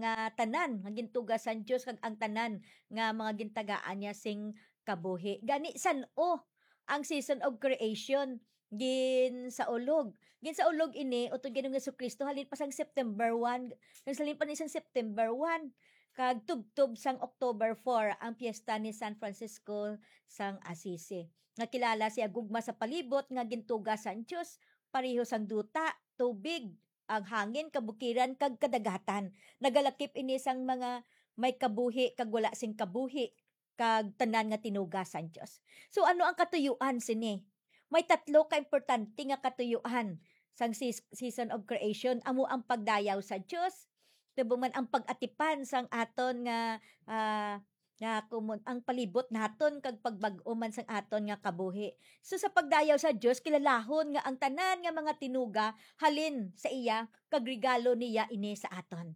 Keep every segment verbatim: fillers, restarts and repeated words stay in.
nga tanan nga gintuga sang Dios, kag ang tanan nga mga gintagaan niya sing kabuhi. Gani, san-o ang season of creation ginsaulog? Ginsaulog ini utod Ginoong Jesu-Cristo halin pa sang September one, nagsalin pa ni sang September one, kag tubtob sang October four ang piyesta ni San Francisco sang Assisi, nga kilala siya gugma sa palibot nga gintuga sang Dios, pareho sang duta, tubig, ang hangin, kabukiran, kag kadagatan. Nagalakip ini sang mga may kabuhi kag wala sing kabuhi, kag tanan nga tinuga sang Dios. So, ano ang katuyuan sini? May tatlo ka importante nga katuyuan sang sis-, season of creation. Amo ang pagdayaw sa Dios, subong man ang pag-atipan sang aton nga, ah, nga kumon-, ang palibot naton, kag pagbag-o man sang aton nga kabuhi. So, sa pagdayaw sa Dios, kilalahon nga ang tanan nga mga tinuga halin sa iya, kag regalo niya ini sa aton.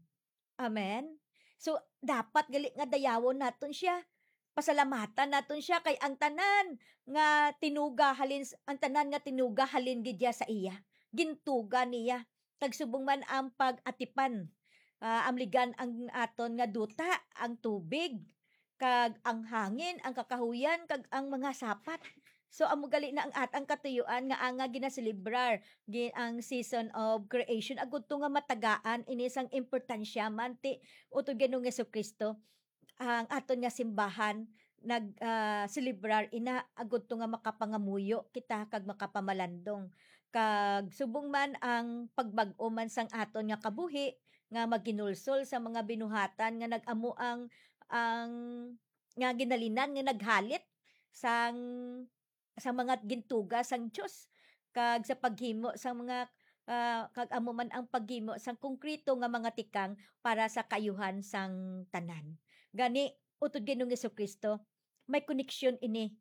Amen. So, dapat gali nga dayawon naton siya. Pasalamatan naton siya kay ang tanan nga tinuga halin s-, ang tanan nga tinuga halin gid siya sa iya. Gintuga niya. Kag subong man ang pag-atipan, ah, amligan ang aton nga duta, ang tubig, kag ang hangin, ang kakahuyan, kag ang mga sapat. So, amo gali na ang at-, ang katuyuan nga anga ginaselebrar gi-, ang season of creation, agud to nga matagaan ini sang importansya man ti utod Ginoong Jesu-Cristo, ang aton nga simbahan nag, ah, selebrar ina, agud to nga makapangamuyo kita kag makapamalandong. Kag subong man ang pagbag-o man sang aton nga kabuhi nga maghinulsol sa mga binuhatan nga nag-amo ang, ang nga ginhalinan nga naghalit sang, sa mga gintuga sang Dios, kag sa paghimo sang mga, ah, kag amo man ang paghimo sang konkreto nga mga tikang para sa kaayuhan sang tanan. Gani, utod Ginoong Jesu-Cristo, may koneksyon ini,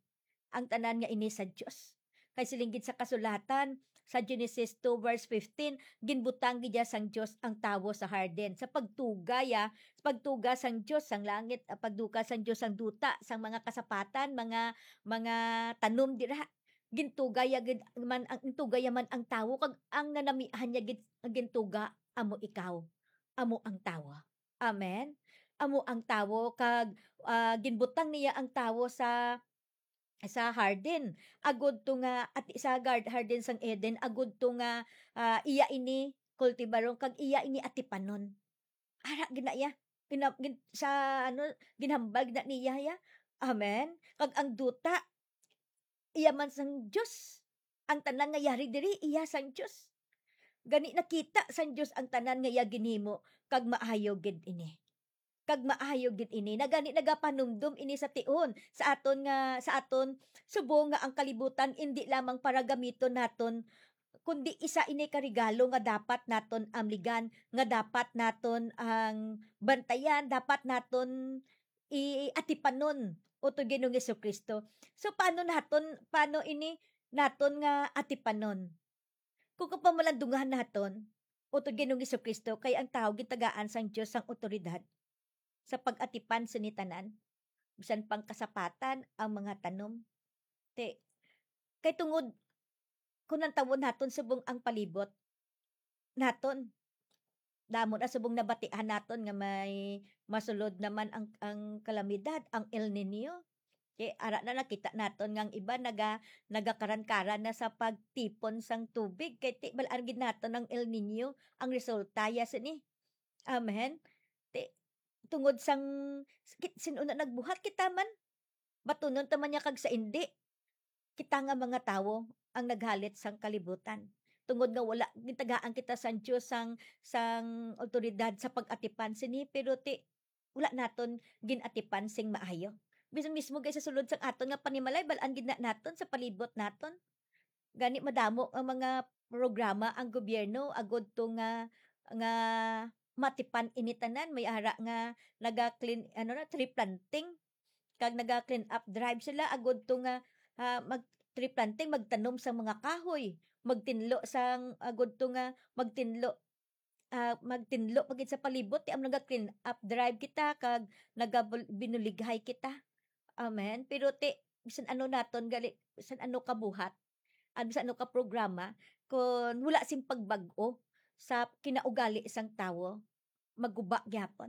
ang tanan nga ini sa Dios. Kay siling gid sa kasulatan, sa Genesis two verse fifteen, ginbutang gid sang Dios ang tawo sa hardin. Sa pagtuga ya, sa pagtuga sang Dios sang langit, ah, pagtuga sang Dios sang duta, sang mga kasapatan, mga, mga tanom dira. Gintuga ya gid man ang, gintuga ya man ang tawo, kag ang nanamihan niya gid ang gintuga amo ikaw, amo ang tawo. Amen. Amo ang tawo, kag, ah, ginbutang niya ang tawo sa, sa hardin, agud to nga, at sa gar-, hardin sang Eden, agud to nga, ah, iya ini kultibaron kag iya ini atipanon. Ara gid na iya. Gina-, gin-, sa, ano, ginhambal gid na niya ya. Amen. Kag ang duta, iya man sang Dios. Ang tanan nga yari diri, iya sang Dios. Gani, nakita sang Dios ang tanan nga iya ginhimo, kag maayo gid ini. Kag maayo gid ini. Na gani, nagapanumdom ini sa tion, sa aton nga, sa aton, subong nga ang kalibutan indi lamang para gamiton naton, kundi isa ini ka regalo nga dapat naton amligan, nga dapat naton ang bantayan, dapat naton i-, atipanon, utod Ginoong Jesu-Cristo. So, paano naton, paano ini naton nga atipanon? Kung kapamalandungan naton, utod Ginoong Jesu-Cristo, kay ang tawo gintagaan sang Dios sang awtoridad sa pag-atipan sini tanan, bisan pang kasapatan, ang mga tanom. Ti, kay tungod, kung lantawon naton subong ang palibot naton, damo na subong nabatian naton nga may masulod naman ang, ang kalamidad, ang El Niño. Kay ara na nakita naton nga ang iba naga-, nagakaran-karan na sa pagtipon sang tubig. Kay ti, bal-an gid naton ang El Niño, ang resulta ya sini. Amen. Ti, tungod sang, kit-, sin-o na nagbuhat, kita man. Batunon ta man niya kag sa indi. Kita nga mga tawo ang naghalit sang kalibutan. Tungod nga wala, gintagaan kita sang Dios sang, sang awtoridad sa pag-atipan sini, pero ti, wala naton gin-atipan sing maayo. Bisan mismo gid sa sulod sang aton nga panimalay, bal-an gid na naton sa palibot naton. Gani madamo ang mga programa ang gobyerno agud to nga, nga matipan ini tanan. May ara nga naga-clean, ano na, tree planting. Kag naga-clean up drive sila agud to nga, ah, mag-, tree planting, magtanom sang mga kahoy, magtinlo sang, agud to nga magtinlo, ah, magtinlo pa gid sa palibot, ti ang naga-clean up drive kita kag nagabul-, binulighay kita. Amen. Pero ti, bisan ano naton gali, bisan ano kabuhat, at bisan ano ka programa, kung wala sing pagbag-o sa kinaugali sang tawo, maguba gyapon.